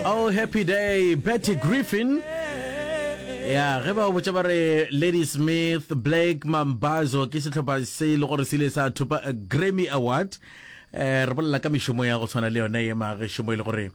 Oh happy day Betty Griffin ya ge ba botša ba re Lady Smith Blake Mambazo ke sehlopha se e le gore se ile sa thopa a Grammy Award eh re bolela ka mešomo ya go tshwana le yone ye magešomo e le gore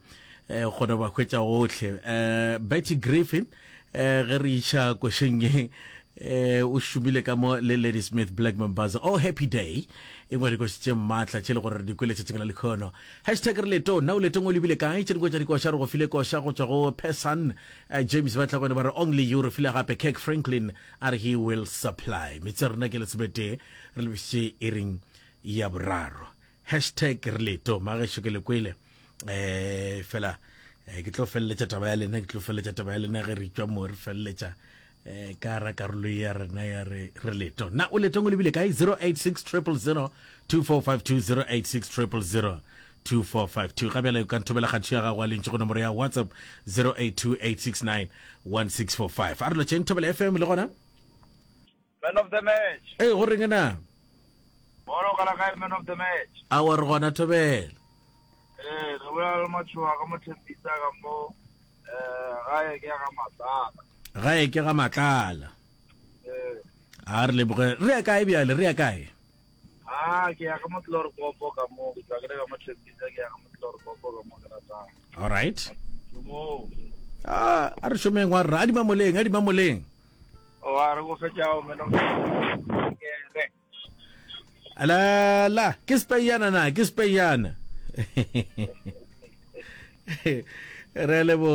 eh kgone ba hwetša gohle eh Betty Griffin eh ge re iša košeng ye eh o šomile ka mo le Lady Smith Black Mambazo oh happy day e ngwe dikoši tše maatla tše le gore re di kwele tšatšing la lekhono hashtag re leto nna o letong o lebile kae tše dingwe tša dikoša re go file koša go tšwa go Person eh, James ba tla gone ba re only you re file gape Kirk Franklin a re he will supply metse rena ke lesometee re lebišitše iring ya boraro Hashtag re leto magešo ke le kwele eh fela eh, ke tlo feleletša taba ya lena ke tlo feleletša taba ya lena ge re tšwa mo re feleletša eh ka ra karolo ya rena ya re re leto na o letong o lebile kae 086 000 2452 086 000 2452 ga bjale o ka nthomela kgatšo ya gago a lentši go nomoro ya whatsapp 082869 1645 a re lotšheng thobela fm le gona Man of the match. Ee, go reng na? Bolo ka la kae man of the match? Awa re gona thobela. Ee, re bolela le Matšhoa ka Mothembisa ka mo eh gae ke ga Matlala. Gae ke ga Matlala. Ee. A re leboge. Re ya kae bjale? Re ya kae? Ah, ke ya ka Motlorkopo ka mo, ke tšwa ke le ka Mothembisa ke ya ka Motlorkopo ka mo ke ratang. All right. Mo. Ah, a re šomeng wa rra, a di mamoleng, a di mamoleng. Wa re go fetša o meno ke re. La la, ke speyana na, ke speyana. Re leboga.